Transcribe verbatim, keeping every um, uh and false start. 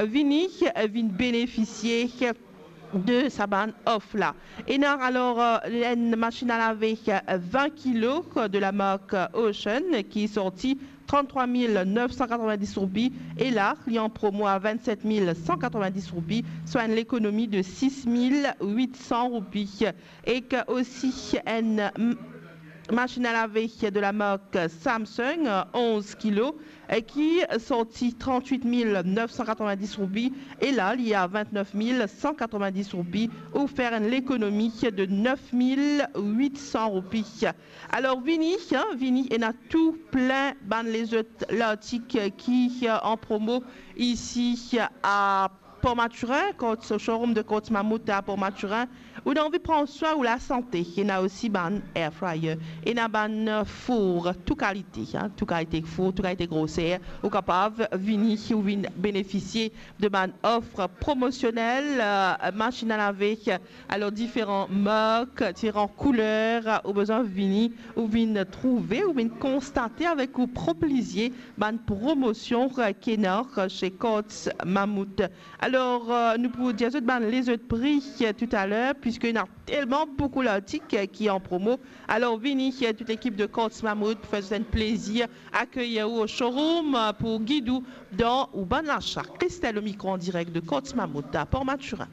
vini, eh, vinn benefisie de sa bann of la. Ena alor, eh, enn masinn a lave, eh, vin kilo de la mark, eh, Ocean ki sorti tranntrwa mil nef san katrovin-dis roupi e la, li an promo a vinn-set mil san katrovin-dis roupi, swa enn lekonomi de sis mil wit san roupi. Ek osi enn, mm, masinn a lave de la mark Samsung, onz kilo, eh, ki sorti trannwit mil nef san katrovin-dis roupi e la, li a vinn-nef mil san katrovin-dis roupi, ou fer enn lekonomi de nef mil wit san roupi. Alor, vini, hein, vini, ena tou plin bann lezot lartik ki, eh, an promo isi, eh, a Port Mathurin, kot showroom de Courts Mammouth a Port Mathurin. Ou ena anvi pran swin ou lasante, ena osi bann air fryer, ena bann, eh, four, tou kalite, hein, tou kalite four, tou kalite groser. Ou kapav vini, ou vinn benefisie de bann of promosionel, eh, masinn a lave, alor diferan mark, diferan kouler, ou bizin vini, ou vinn trouve, ou vinn konstate avek ou prop lizie bann promosion ki ena she Courts Mammouth. Alor, eh, nou pou dir zot bann lezot pri, eh, toutaler, piski ena telman boukou lartik, eh, ki an promo. Alor, vini, eh, tou lekip de Courts Mammouth pou fer zot enn plezir, akeyir ou o showroom, eh, pou gid ou dan ou bann lasa. Christelle au micro en direct de Courts Mammouth a Port Mathurin.